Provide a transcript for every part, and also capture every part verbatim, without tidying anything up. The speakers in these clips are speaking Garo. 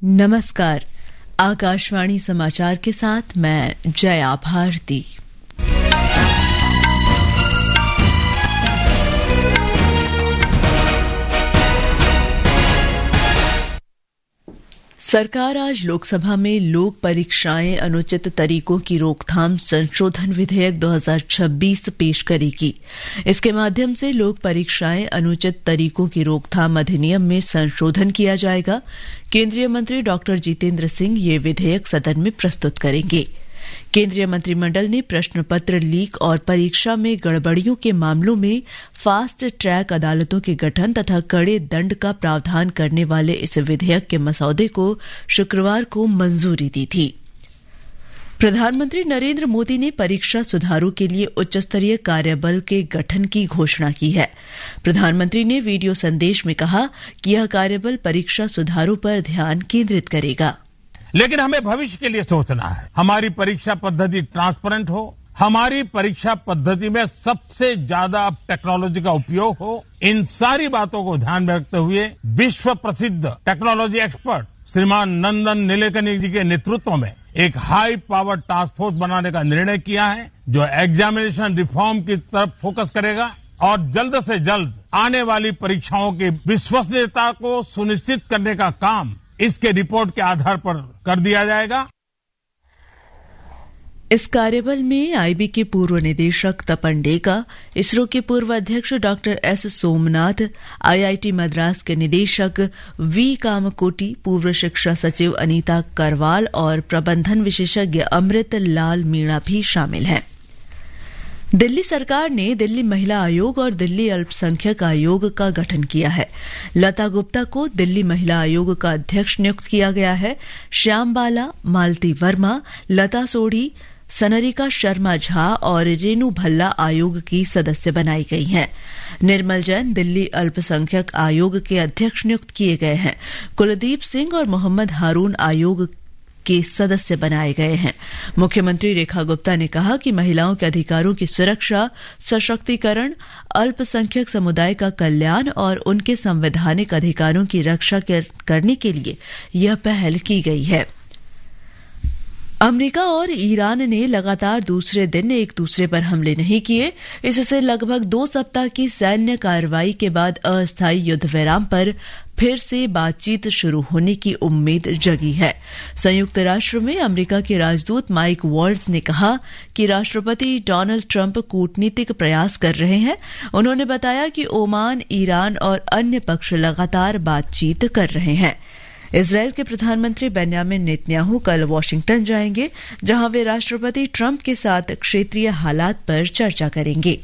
नमस्कार, आकाशवाणी समाचार के साथ मैं जया भारती। सरकार आज लोकसभा में लोक परीक्षाएं अनुचित तरीकों की रोकथाम संशोधन विधेयक दो हज़ार छब्बीस पेश करेगी। इसके माध्यम से लोक परीक्षाएं अनुचित तरीकों की रोकथाम अधिनियम में संशोधन किया जाएगा। केंद्रीय मंत्री डॉक्टर जितेंद्र सिंह ये विधेयक सदन में प्रस्तुत करेंगे। केंद्रीय मंत्रिमंडल ने प्रश्न पत्र लीक और परीक्षा में गड़बड़ियों के मामलों में फास्ट ट्रैक अदालतों के गठन तथा कड़े दंड का प्रावधान करने वाले इस विधेयक के मसौदे को शुक्रवार को मंजूरी दी थी। प्रधानमंत्री नरेंद्र मोदी ने परीक्षा सुधारों के लिए उच्च स्तरीय कार्यबल के गठन की घोषणा की है। प्रधानमंत्री ने वीडियो संदेश में कहा कि यह कार्यबल परीक्षा सुधारों पर ध्यान केंद्रित करेगा। लेकिन हमें भविष्य के लिए सोचना है। हमारी परीक्षा पद्धति ट्रांसपेरेंट हो, हमारी परीक्षा पद्धति में सबसे ज्यादा टेक्नोलॉजी का उपयोग हो, इन सारी बातों को ध्यान में रखते हुए विश्व प्रसिद्ध टेक्नोलॉजी एक्सपर्ट श्रीमान नंदन नीलेकनी जी के नेतृत्व में एक हाई पावर टास्क फोर्स बनाने का निर्णय किया है, जो एग्जामिनेशन रिफॉर्म की तरफ फोकस करेगा और जल्द से जल्द आने वाली परीक्षाओं की विश्वसनीयता को सुनिश्चित करने का काम इसके रिपोर्ट के आधार पर कर दिया जाएगा। इस कार्यबल में आईबी के पूर्व निदेशक तपन डेका, इसरो के पूर्व अध्यक्ष डॉक्टर एस सोमनाथ, आईआईटी मद्रास के निदेशक वी कामकोटी, पूर्व शिक्षा सचिव अनीता करवाल और प्रबंधन विशेषज्ञ अमृत लाल मीणा भी शामिल हैं। दिल्ली सरकार ने दिल्ली महिला आयोग और दिल्ली अल्पसंख्यक आयोग का गठन किया है। लता गुप्ता को दिल्ली महिला आयोग का अध्यक्ष नियुक्त किया गया है। श्याम बाला, मालती वर्मा, लता सोढ़ी, सनरिका शर्मा झा और रेनू भल्ला आयोग की सदस्य बनाई गई हैं। निर्मल जैन दिल्ली अल्पसंख्यक आयोग के अध्यक्ष नियुक्त किए गए हैं। कुलदीप सिंह और मोहम्मद हारून आयोग के सदस्य बनाए गए हैं। मुख्यमंत्री रेखा गुप्ता ने कहा कि महिलाओं के अधिकारों की सुरक्षा, सशक्तिकरण, अल्पसंख्यक समुदाय का कल्याण और उनके संवैधानिक अधिकारों की रक्षा कर, करने के लिए यह पहल की गई है। अमेरिका और ईरान ने लगातार दूसरे दिन एक दूसरे पर हमले नहीं किए। इससे लगभग दो सप्ताह की सैन्य कार्रवाई के बाद अस्थायी युद्ध विराम पर फिर से बातचीत शुरू होने की उम्मीद जगी है। संयुक्त राष्ट्र में अमेरिका के राजदूत माइक वॉल्ट्ज ने कहा कि राष्ट्रपति डोनाल्ड ट्रंप कूटनीतिक प्रयास कर रहे हैं। उन्होंने बताया कि ओमान, ईरान और अन्य पक्ष लगातार बातचीत कर रहे हैं। इसराइल के प्रधानमंत्री बेंजामिन नेतन्याहू कल वॉशिंगटन जाएंगे, जहां वे राष्ट्रपति ट्रंप के साथ क्षेत्रीय हालात पर चर्चा करेंगे।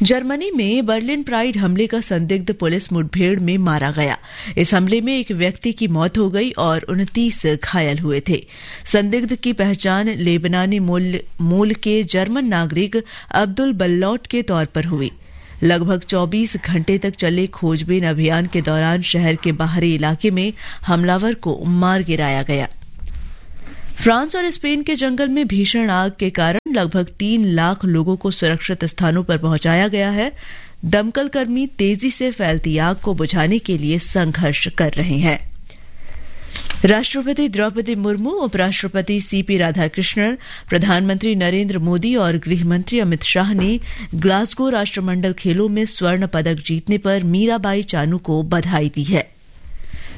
जर्मनी में बर्लिन प्राइड हमले का संदिग्ध पुलिस मुठभेड़ में मारा गया। इस हमले में एक व्यक्ति की मौत हो गई और उनतीस घायल हुए थे। संदिग्ध की पहचान लेबनानी मूल, मूल के जर्मन नागरिक अब्दुल बल्लौट के तौर पर हुई। लगभग चौबीस घंटे तक चले खोजबीन अभियान के दौरान शहर के बाहरी इलाके में हमलावर को मार गिराया गया। फ्रांस और स्पेन के जंगल में भीषण आग के कारण लगभग तीन लाख लोगों को सुरक्षित स्थानों पर पहुंचाया गया है। दमकल कर्मी तेजी से फैलती आग को बुझाने के लिए संघर्ष कर रहे हैं। राष्ट्रपति द्रौपदी मुर्मू, उपराष्ट्रपति सीपी राधाकृष्णन, प्रधानमंत्री नरेंद्र मोदी और गृह मंत्री अमित शाह ने ग्लासगो राष्ट्रमंडल खेलों में स्वर्ण पदक जीतने पर मीराबाई चानू को बधाई दी है।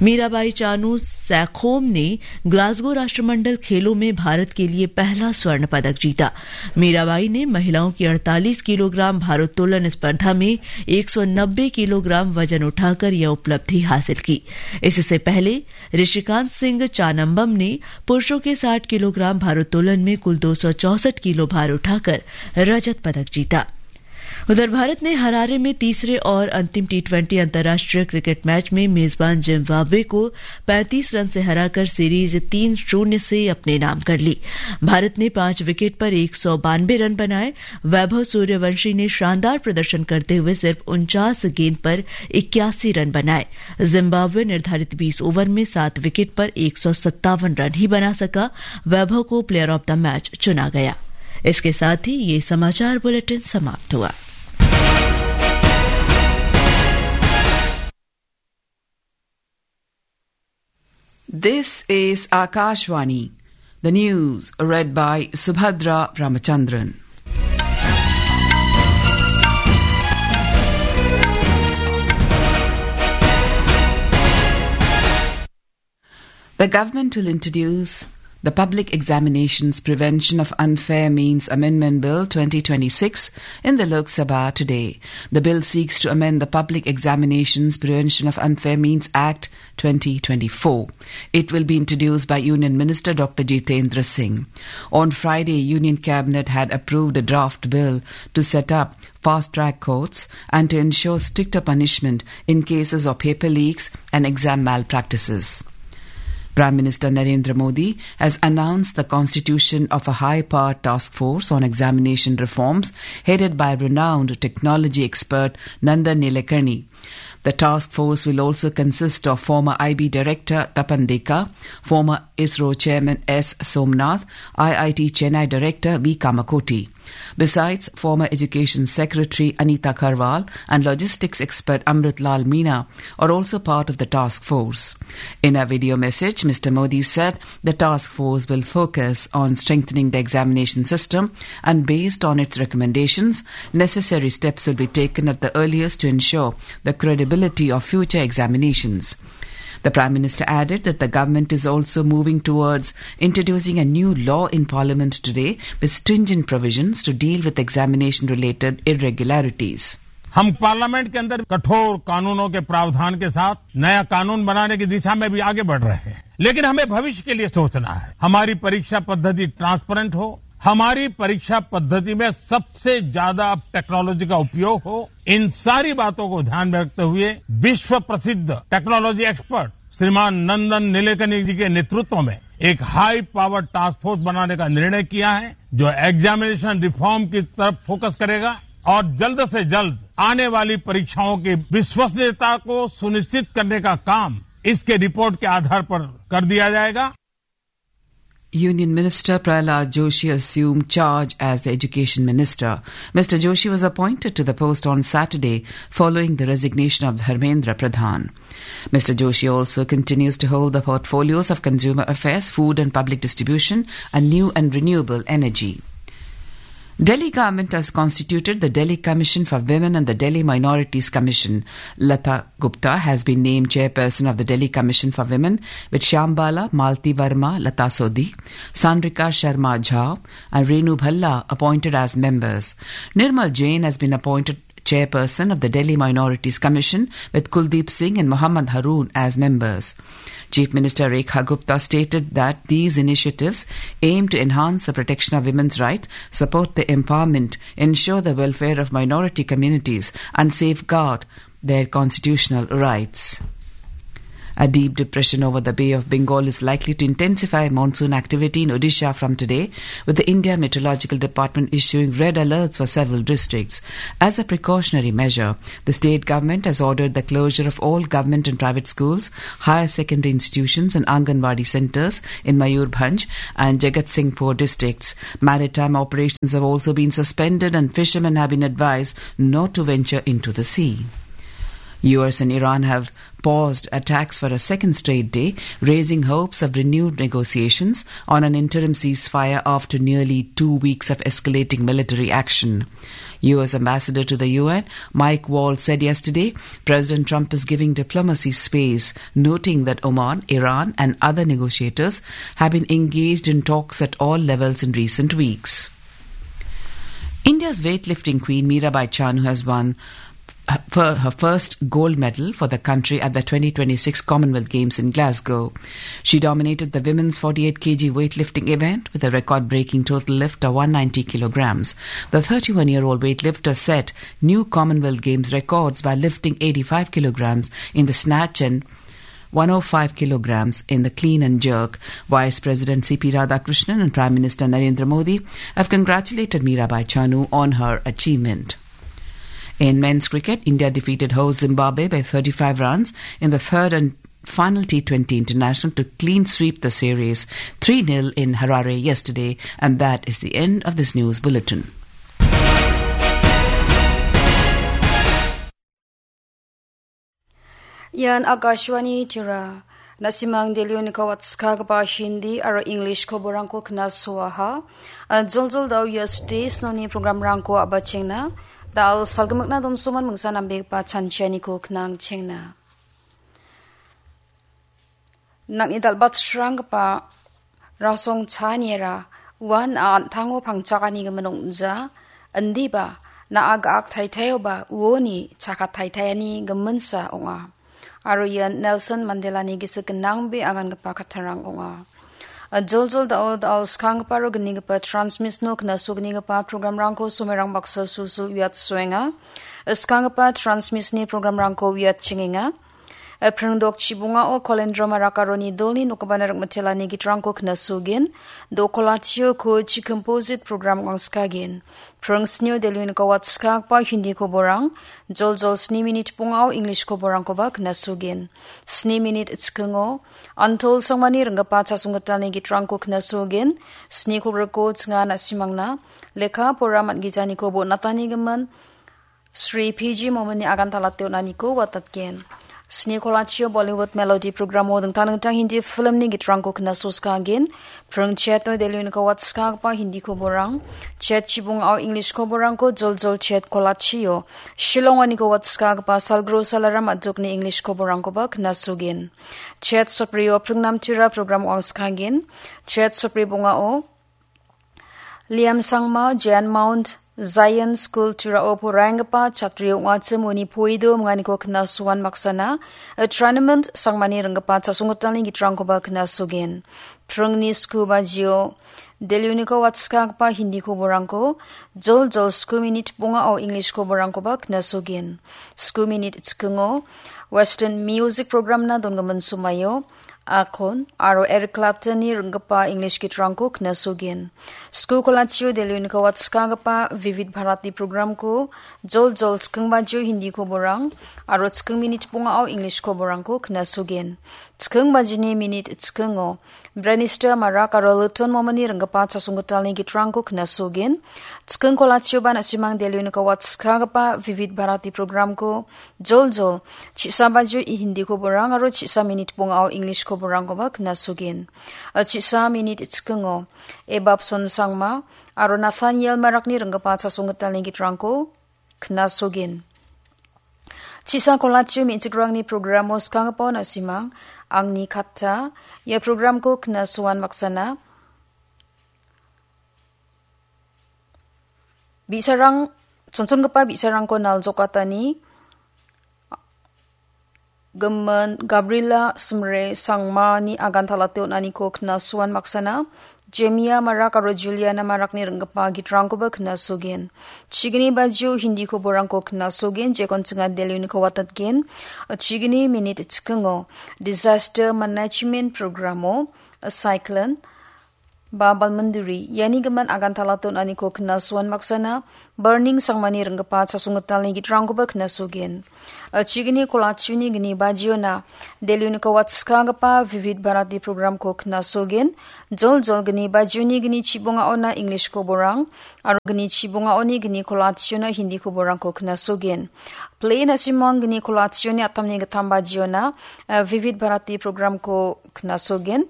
मीराबाई चानू सैखोम ने ग्लासगो राष्ट्रमंडल खेलों में भारत के लिए पहला स्वर्ण पदक जीता। मीराबाई ने महिलाओं की अड़तालीस किलोग्राम भारोत्तोलन स्पर्धा में एक सौ नब्बे किलोग्राम वजन उठाकर यह उपलब्धि हासिल की। इससे पहले ऋषिकांत सिंह चानम्बम ने पुरुषों के साठ किलोग्राम भारोत्तोलन में कुल दो सौ चौसठ किलो भार उठाकर रजत पदक जीता। उधर भारत ने हरारे में तीसरे और अंतिम टी ट्वेंटी अंतर्राष्ट्रीय क्रिकेट मैच में मेजबान जिम्बाब्वे को पैंतीस रन से हराकर सीरीज तीन शून्य से अपने नाम कर ली। भारत ने पांच विकेट पर एक सौ बानवे रन बनाए। वैभव सूर्यवंशी ने शानदार प्रदर्शन करते हुए सिर्फ उनचास गेंद पर इक्यासी रन बनाए। जिम्बाब्वे निर्धारित बीस ओवर में सात विकेट पर एक सौ सत्तावन रन ही बना सका। वैभव को प्लेयर ऑफ द मैच चुना गया। इसके साथ ही ये समाचार बुलेटिन समाप्त हुआ। This is Akashvani. The news read by Subhadra Ramachandran. The government will introduce the Public Examinations Prevention of Unfair Means Amendment Bill twenty twenty-six in the Lok Sabha today. The bill seeks to amend the Public Examinations Prevention of Unfair Means Act twenty twenty-four. It will be introduced by Union Minister Doctor Jitendra Singh. On Friday, Union Cabinet had approved a draft bill to set up fast-track courts and to ensure stricter punishment in cases of paper leaks and exam malpractices. Prime Minister Narendra Modi has announced the constitution of a high-powered task force on examination reforms headed by renowned technology expert Nandan Nilekani. The task force will also consist of former I B director Tapan Deka, former ISRO chairman S Somnath, I I T Chennai director V Kamakoti. Besides, former Education Secretary Anita Karwal and logistics expert Amrit Lal Meena are also part of the task force. In a video message, Mister Modi said the task force will focus on strengthening the examination system and, based on its recommendations, necessary steps will be taken at the earliest to ensure the credibility of future examinations. The Prime Minister added that the government is also moving towards introducing a new law in Parliament today with stringent provisions to deal with examination-related irregularities. हम पार्लियामेंट के अंदर कठोर कानूनों के प्रावधान के साथ नया कानून बनाने की दिशा में भी आगे बढ़ रहे हैं, लेकिन हमें भविष्य के लिए सोचना है। हमारी परीक्षा पद्धति ट्रांसपेरेंट हो, हमारी परीक्षा पद्धति में सबसे ज्यादा टेक्नोलॉजी का उपयोग हो, इन सारी बातों को ध्यान में रखते हुए विश्व प्रसिद्ध टेक्नोलॉजी एक्सपर्ट श्रीमान नंदन नीलेकनी जी के नेतृत्व में एक हाई पावर टास्क फोर्स बनाने का निर्णय किया है, जो एग्जामिनेशन रिफॉर्म की तरफ फोकस करेगा और जल्द से जल्द आने वाली परीक्षाओं की विश्वसनीयता को सुनिश्चित करने का काम इसके रिपोर्ट के आधार पर कर दिया जाएगा। Union Minister Prahlad Joshi assumed charge as the Education Minister. Mister Joshi was appointed to the post on Saturday following the resignation of Dharmendra Pradhan. Mister Joshi also continues to hold the portfolios of Consumer Affairs, Food and Public Distribution, and New and Renewable Energy. Delhi government has constituted the Delhi Commission for Women and the Delhi Minorities Commission. Lata Gupta has been named chairperson of the Delhi Commission for Women, with Shambala Malti Verma Lata Sodhi, Sandrika Sharma Jha, and Renu Bhalla appointed as members. Nirmal Jain has been appointed chairperson of the Delhi Minorities Commission, with Kuldeep Singh and Mohammad Haroon as members. Chief Minister Rekha Gupta stated that these initiatives aim to enhance the protection of women's rights, support their empowerment, ensure the welfare of minority communities, and safeguard their constitutional rights. A deep depression over the Bay of Bengal is likely to intensify monsoon activity in Odisha from today, with the India Meteorological Department issuing red alerts for several districts. As a precautionary measure, the state government has ordered the closure of all government and private schools, higher secondary institutions and Anganwadi centres in Mayurbhanj and Jagatsinghpur districts. Maritime operations have also been suspended and fishermen have been advised not to venture into the sea. U S and Iran have paused attacks for a second straight day, raising hopes of renewed negotiations on an interim ceasefire after nearly two weeks of escalating military action. U S Ambassador to the U N, Mike Wall, said yesterday President Trump is giving diplomacy space, noting that Oman, Iran, and other negotiators have been engaged in talks at all levels in recent weeks. India's weightlifting queen Mirabai Chanu has won her, her first gold medal for the country at the twenty twenty-six Commonwealth Games in Glasgow. She dominated the women's forty-eight kilogram weightlifting event with a record-breaking total lift of one ninety kilograms. The thirty-one-year-old weightlifter set new Commonwealth Games records by lifting eighty-five kilograms in the snatch and one oh five kilograms in the clean and jerk. Vice President C P Radhakrishnan and Prime Minister Narendra Modi have congratulated Mirabai Chanu on her achievement. In men's cricket, India defeated host Zimbabwe by thirty-five runs in the third and final T twenty international to clean sweep the series, three nil in Harare yesterday, and that is the end of this news bulletin. Ian Akashvani Tirupur. Na·simang Delhi-oniko watskagipa Hindi aro English koborangko knasoaha. A, joljol da·o ia stage noni programrangko a·bachengna. Da·al salgimikna donsoman mingsa nambegipa chanchianiko knangchengna. Nang·ni dal·batsranggipa rasong chaniera uan a·antango pangchakani gimin ong·ja, indiba na·a ga·ak taitaioba uoni chakat taitaiani giminsa ong·a. Aro ian Nelson Mandelani gisik gnangbe agangipa kattarang ong·a. A, joljol da·o da·al skanggipa aro gnigipa transmisno knasognigipa programrangko somerang baksa sulsul uiatsoenga. Skanggipa transmisni programrangko uiatchengenga. Epring dok chibongao Kolendro Marak aroni dolni nokgipana rikmitelani gitrangko knasugin. Dokolachio ko chi composite program wangskagin. Pring snio Delhi-oniko watskagpa Hindi koborang. Joljol sni minit bongao English koborangkoba knasugin. Sni minit chikingo Antol Sangmani ringgipa chasonggitalni gitrangko knasugin. Sni kolgriko chinga na·simangna lekka pora man·gijaniko bon·atanigimin. Sri P G Momini agantalate on·aniko watatgen. Sni kolachio Bollywood Melody programo dingtang dingtang Hindi filmni gitrangko knasoskagin. Pring chetno Delhi-oniko watskagipa Hindi koborang. Chet chibongao English koborangko joljol chet kolachio. Shillong-oniko watskagipa Salgro Salaram Adokni English koborangkoba knasogin. Chet soprio pringnam tira program wangskagin. Chet sopri bongao Liam Sangma, Jan Mount, Zion School Turao poraienggipa chatri ong·achim uni poido minganiko knasoan maksana, a tournament Sangmani ringgipa chasonggitalni gitrangkoba knasogen. Pringni sku bajio, Delhi-oniko watskagipa Hindi koborangko, joljol sku minit bongao English koborangkoba knasogen. Sku minit chikingo, Western Music Programna dongimin somaio, Akon aro Eric Claptonni ringgipa English gitrangko knasogin. Sku kolachio Delhi-oniko watskagipa Vivid Bharati programko joljol chiking bajio Hindi koborang aro chiking minit bongao English koborangko knasogin. Chiking bajini minit chikingo Branister Marak aro Luton Momini ringgipa chasonggitalni gitrangko knasogin. Chiking kolachioba na·simang Delhi-oniko watskagipa Vivid Bharati programko joljol, chi·sa bajio i Hindi koborang aro chi·sa minit bongao English koborangkoba knasogin. A, chi·sa minit chikingo, Ebabson Sangma aro Nathaniel Marakni ringgipa chasonggitalni gitrangko knasogin. Chi·sa kolachio me·chikrangni programo skanggipao na·simang, angni katta, ia programko knasoan maksana. Bi·sarang, chonchongipa bi·sarangko naljokatani gimin Gabriela Simre Sangmani agantalate on·aniko knasoan maksana, Jemia Marak aro Juliana Marakni ringgipa gitrangkoba knasogen. Chigni bajio Hindi koborangko knasogen, jekon chinga Delhi-oniko watatgen. Chigni minit chikingo Disaster Management Programo, Cyclone, ba balminduri, iani gimin agantalate on·aniko knasoan maksana, Burning Sangmani ringgipa chasonggitalni gitrangkoba knasogen. A, chigni kolachuni gni bajiona, Delhi-oniko watskagipa Vivid Bharati programko knasogen. Joljol gni bajioni gni chibongaona English koborang, aro gni chibongaoni gni kolachiona Hindi koborangko knasogen. Play na·simang gni kolachioni atamni gittam bajiona, a, Vivid Bharati programko knasogen.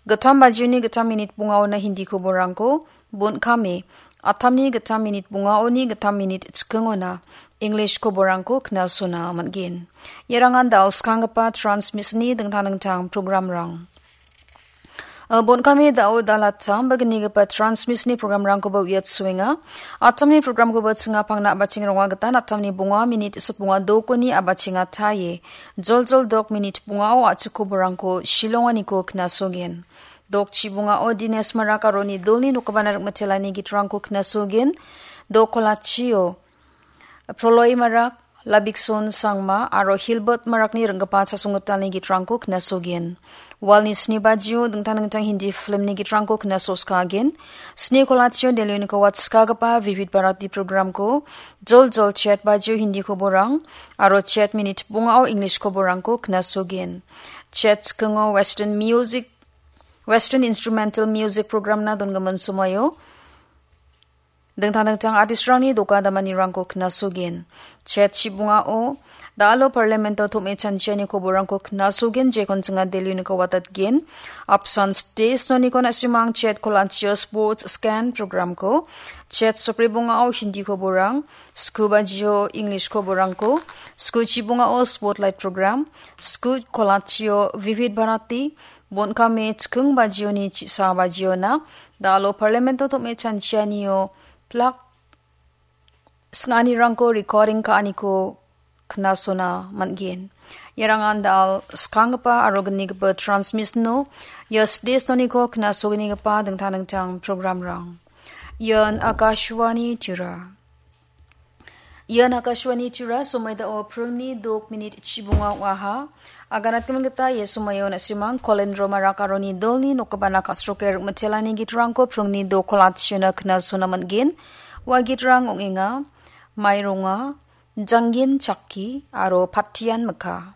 Gittam bajioni gittam minit bongaona Hindi koborangko, bon·kame, atamni gittam minit bongaoni gittam minit chikingona English koborangko knasona man·gen. Iarangan da·al skanggipa transmisni dingtang dingtang programrang. A, bon·kame da·o dalattam bagnigipa transmisni programrangkoba uiatsoenga. Atamni programkoba chingapangna a·bacheng ronga gita atamni bonga minit sipbonga dokoni a·bachenga taie. Joljol dok minit bongao a·chik koborangko Shillonganiko knasogen. Dok chibongao Dines Marak aroni dolni nokgipana rikmitelani gitrangko knasogen. Dok kolachio Proloi Marak, Labikson Sangma aro Hilbert Marakni ringgipa chasonggitalni gitrangko knasogen. Walni sni bajio dingtang dingtang Hindi filmni gitrangko knasoskagen. Sni kolachio Delhi-oniko watskagipa Vivid Bharati programko joljol chet bajio Hindi koborang aro chet minit bongao English koborangko knasogen. Chet chikingo Western Music, Western Instrumental Music programna dongimin somoio Dingtang dingtang artistrangni doka damanirangko knasogen. Chet chibungao, da·alo parlamento tom·e chanchiani koborangko knasogen, jekon chinga Delhi-oniko watatgen. Apsan stage noniko na·simang chet kolachio sports scan programko, chet sopri bungao Hindi koborang, sku bajio English koborangko, sku chibungao spotlight program, sku kolachio Vivid Bharati, bonkame chiking bajioni chisa bajiona, da·alo parlamento tom·e chanchianio plak sing·anirangko recording ka·aniko knasona man·gen. Iarangan da·al skanggipa aro gnigipa transmission-o ia stage noniko knasognigipa dingtang dingtang programrang. Ian Akashvani Tura. Ian Akashvani Tura, somoi dao pringni dok minit chibunga ong·aha. Aganatgimin gita ia somoio na·simang Kolendro Marak aroni dolni nokgipana ka·sroke rikmitelani gitrangko pringni dok kolachina knasona man·gen. Ua gitrang ong·enga, Maironga, Jangin Chakki aro Patian Mikha.